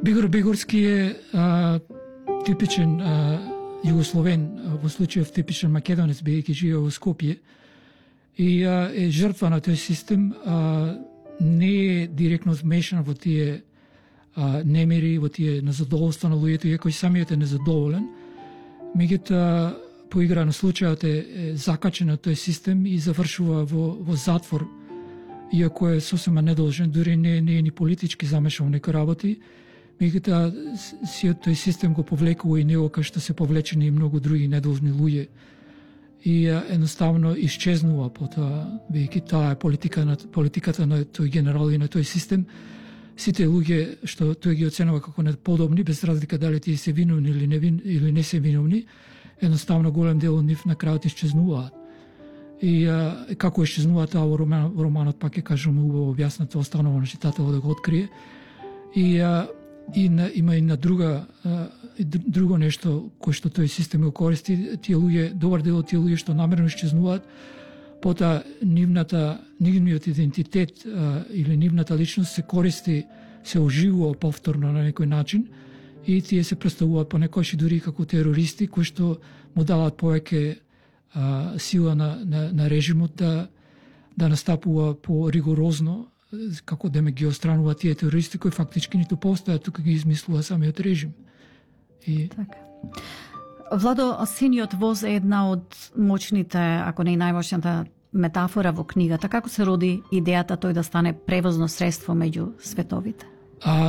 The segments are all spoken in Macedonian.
Бегор Бегорски е типичен југословен, во случајов типичен македонец, бидејќи живее во Скопје, и е жртва на тој систем, не е директно вмешан во тие немири, во тие незадоволства на луѓето, иако и самиот е незадоволен. Меѓутоа, по игра на случајот е закачен на тој систем и завршува во затвор, иако е сосема недолжен, дури не е ни политички замешан во некои работи. Меѓутоа, сиот тој систем го повлекува и него, кај што се повлечени и многу други недолжни луѓе. И едноставно исчезнува потоа, бидејќи таа е политиката на тој генерал и на тој систем. Сите луѓе што тој ги оценува како неподобни, без разлика дали тие се виновни или не се виновни, едноставно голем дел од нив на крајот исчезнуваат. И како исчезнуваат тоа во романот, пак ќе кажеме убаво објаснато, останува на читателот да го открие. Има и на друго нешто кој што тој систем го користи. Тие луѓе, добар дел од тие луѓе што намерно исчезнуваат, потоа нивниот идентитет или нивната личност се користи, се оживува повторно на некој начин и тие се представуваат понекогаш и дури како терористи кои што му даваат повеќе сила на режимот да настапува по-ригорозно, како да ме ги отстранува тие терористи кои фактички ниту постојат, тука ги измислува самиот режим. Така. Владо, Синиот воз е една од моćните, ако не и најмоćната метафора во книгата. Како се роди идејата тој да стане превозно средство меѓу световите?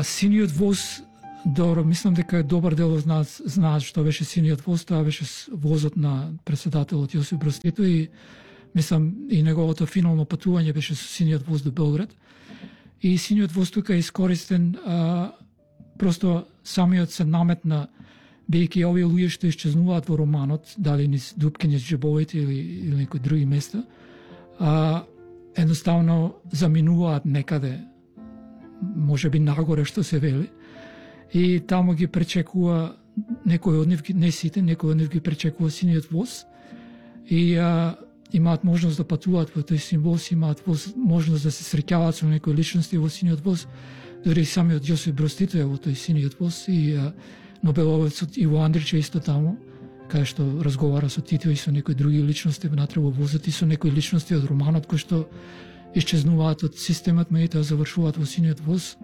Синиот воз, добро, мислам дека е добар дел од нас знаат што беше Синиот воз, тоа беше возот на претседателот Јосип Брз Тито и мислам и неговото финално патување беше со Синиот воз до Белград. И Синиот воз тука е искористен, просто самиот се наметна, бидејќи овие луѓе што исчезнуваат во романот, дали низ дупки низ џебовите или некои други места, едноставно заминуваат некаде, можеби нагоре што се вели, и таму ги пречекува некој од нив, не сите, некој од нив ги пречекува Синиот воз и имаат можност да патуваат во тој син воз, имаат можност да се среќаваат со некои личности во Синиот воз, дори самиот Јосип Брз Тито е во тој Синиот воз и Нобеловецот Иво Андрич е исто таму, кај што разговара со Тито и со некои други личности внатре во возот и со некои личности од романот кои што исчезнуваат од системот, меѓутоа завршуваат во Синиот воз.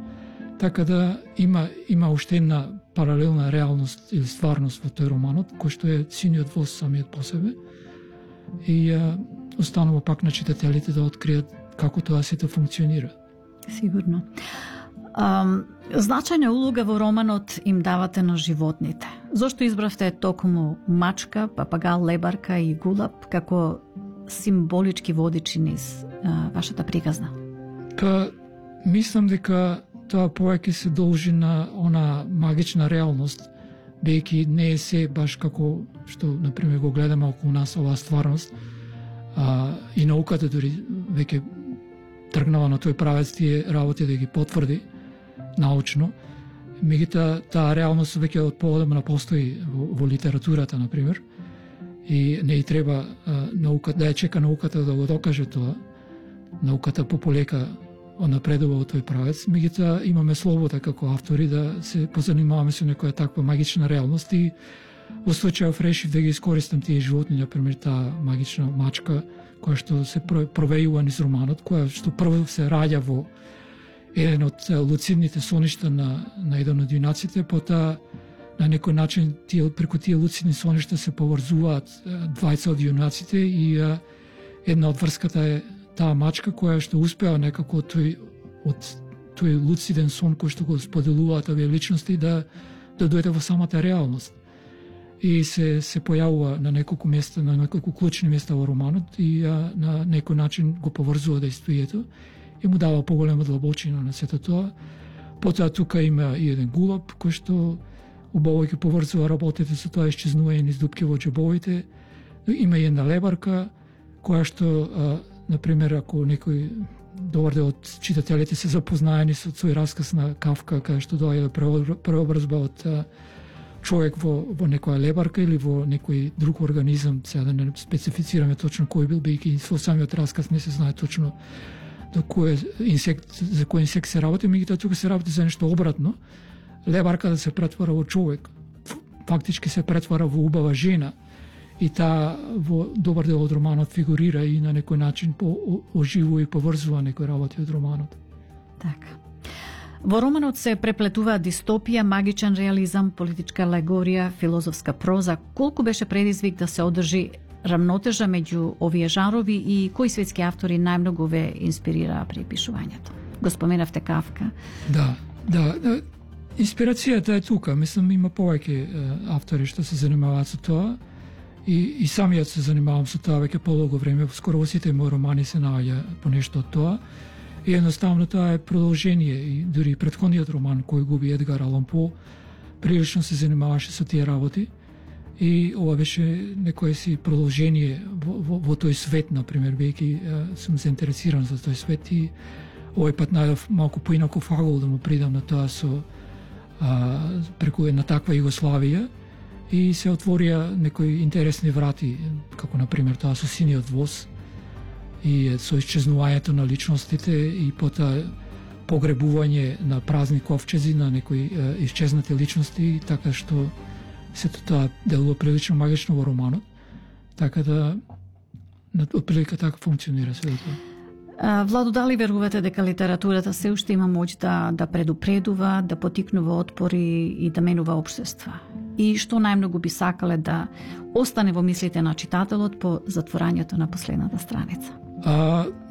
Така да има уште една паралелна реалност или стварност во тој романот, кој што е Синиот воз самиот по себе. И останува пак на читателите да откријат како тоа сето функционира. Сигурно. Значајна улога во романот им давате на животните. Зошто избравте токму мачка, папагал, лебарка и гулаб како символички водичи низ вашата приказна? Мислам дека тоа повеќе се должи на она магична реалност, бидејќи не е се баш како што, например, го гледаме околу нас оваа стварност, и науката дури веќе тргнала на тој правец тие работи да ги потврди научно. Меѓутоа, таа реалност веќе од поодамна постои во литературата, например, и не и треба науката, да ја чека науката да го докаже тоа. Науката пополека напредува во тој правец, меѓутоа имаме слобода како автори да се позанимаваме со некоја таква магична реалност и во случајов решив да ги искористам тие животни, например таа магична мачка која што се провејува низ романот, која што прво се раѓа во еден од луцидните соништа на еден од јунаците, потоа на некој начин преку тие луцидни соништа се поврзуваат двајца од јунаците и една од врската е таа мачка која што успеа некако од тој луциден сон кој што го споделуваат овие личности да дојде во самата реалност. И се појавува на неколку места, на неколку клучни места во романот и на некој начин го поврзува действието и му дава поголема длабочина на сето тоа. Потоа тука има и еден гулаб кој што убаво ќе поврзува работите со тоа исчезнување низ дупки во џебовите. Има и една лебарка која што например, ако некој добар дел од читателите се запознаени со свој расказ на Кафка, кај што доаѓа преобразба од човек во некоја лебарка или во некој друг организам, сега да не специфицираме точно кој бил, бидејќи со самиот расказ не се знае точно за кој инсект се работи, меѓутоа тука се работи за нешто обратно. лебарка да се претвара во човек. Фактички се претвара во убава жена и таа во добар дел од романот фигурира и на некој начин оживува и поврзува некои работи од романот. Така. Во романот се преплетува дистопија, магичен реализам, политичка алегорија, филозофска проза. Колку беше предизвик да се одржи рамнотежа меѓу овие жанрови и кои светски автори најмногу ве инспирираа при пишувањето? Го споменавте Кафка. Да. Инспирацијата е тука. Мислам, има повеќе автори што се занимаваат со тоа. И самиот се занимавам со тоа веќе подолго време. Скоро во сите мои романи се наоѓа по нешто од тоа. И едноставно тоа е продолжение. И дури претходниот роман кој губи Едгар Алан По прилично се занимаваше со тие работи. И ова беше некое си продолжение во тој свет, например, бидејќи сум заинтересиран за тој свет и овој пат најдов малку поинаков агол да му придам на тоа со преку една таква Југославија и се отворија некои интересни врати, како например тоа со Синиот воз и со исчезнувањето на личностите и потоа погребување на празни ковчези на некои исчезнати личности, така што сето тоа делува прилично магично во романот. Така да отприлика така функционира свето тоа. Владо, дали верувате дека литературата се уште има моќ да предупредува, да потикнува отпори и да менува општества? И што најмногу би сакале да остане во мислите на читателот по затворањето на последната страница?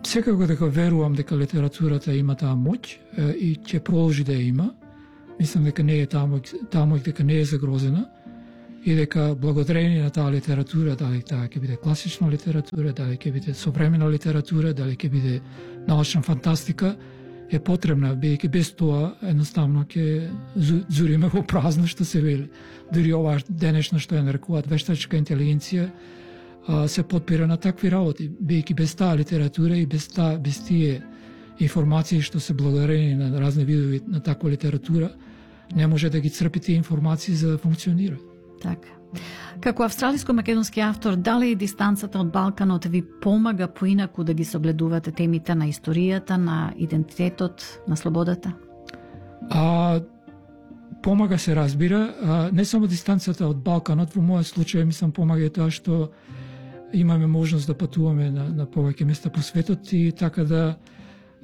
Секако дека верувам дека литературата има таа моќ и ќе продолжи да ја има. Мислам дека не е таа моќ дека не е загрозена и дека благодарение на таа литература, дали таа ќе биде класична литература, дали ќе биде современа литература, дали ќе биде научна фантастика, е потребна, бидејќи без тоа едноставно ќе зуриме во празно, што се вели. Дури ова денешно што ја нарекуваат вештачка интелигенција се подпира на такви работи, бидејќи без таа литература и без тие информации што се благодарение на разни видови на таква литература, не може да ги црпи тие информации за да функционира. Така. Како австралиско-македонски автор, дали дистанцата од Балканот ви помага поинаку да ги согледувате темите на историјата, на идентитетот, на слободата? Помага се разбира. Не само дистанцата од Балканот, во мојот случај мислам помага и тоа што имаме можност да патуваме на повеќе места по светот и така да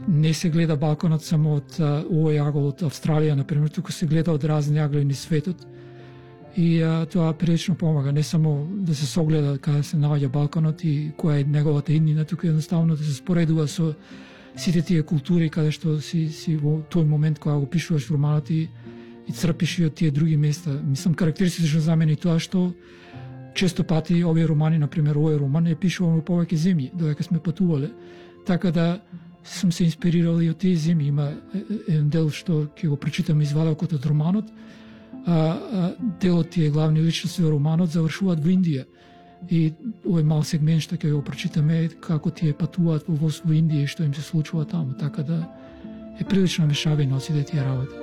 не се гледа Балканот само од овој агол од Австралија, например, туку се гледа од разни агли низ светот. И тоа прилично помага, не само да се согледа каде се наоѓа Балканот и која е неговата иднина, туку едноставно да се споредува со сите тие култури каде што си во тој момент кога го пишуваш романот и црпиш и од тие други места. Мислам, карактеристично за мене и тоа што често пати овие романи, например, овој роман е пишуван во повеќе земји, додека сме патувале, така да сум се инспирирал и од тие земји. Има еден дел што ќе го прочитам извадокот од романот, делот тие главни личности во романот завршуваат во Индија. И овој мал сегмент што ќе го прочитаме како тие патуваат во Индија и што им се случува таму, така да е прилично мешавина од сите тие работи.